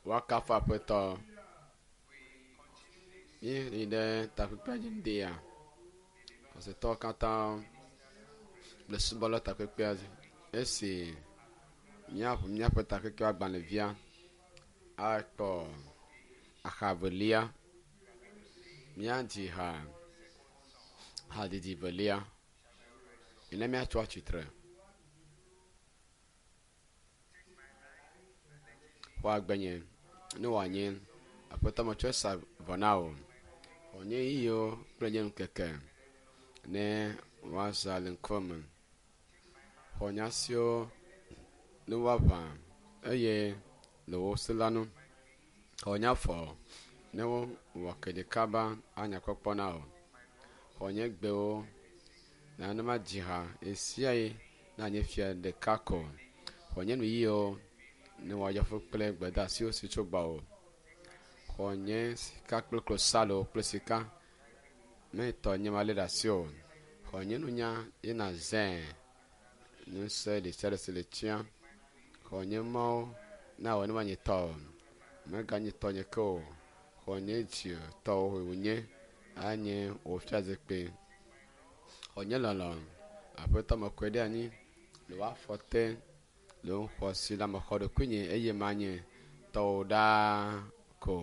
Woakafu Aƒetɔ. Míeyi ɖe takpekpea dzi ŋdea. Xɔsetɔwo katã le subɔla takpekpea dzi. Esi míaʋu míaƒe takpekpe agbalẽvia akpɔ axa velia, míadzi ha hadzidzi velia. Ne míatso atsitre. Xɔ agbenye ne wòanye Aƒetɔ metsɔe sa vɔ na wò. Xɔ nye ɣeyiɣiwo kple nye ŋkeke ne woazã le ŋkuwò me. Xɔ nye asiwo ne woaʋã eye le wò se la nu. Xɔ nye afɔ ne wowɔ ke ɖeka ba anya kpɔkpɔ na wò. Xɔ nye gbewo na ne madzi ha ɣesiaɣi na nye fia ɖeka ko. Xɔ nye nuyiwo ne wòayɔ fũ kple gbedeasiwo si tso gbɔwò. Xɔ nye sika kple klosalo kple sika ne tɔ nye malé ɖe asi o. Xɔ nye nunya ye nàzãe ŋusẽ ɖesiaɖe si le tsiã. Xɔ nye mɔwo na wɔ ne manyi tɔwò. Meganyi tɔnye ke o. Xɔ nye dzi tɔwò wònye anye wò fiazikpui. Xɔ nye lɔlɔ̃ Aƒetɔ mekɔe ɖe anyi le wò afɔ te le wò xɔasi la mexɔ ɖokuinye eye manye tɔwò ɖaa ko.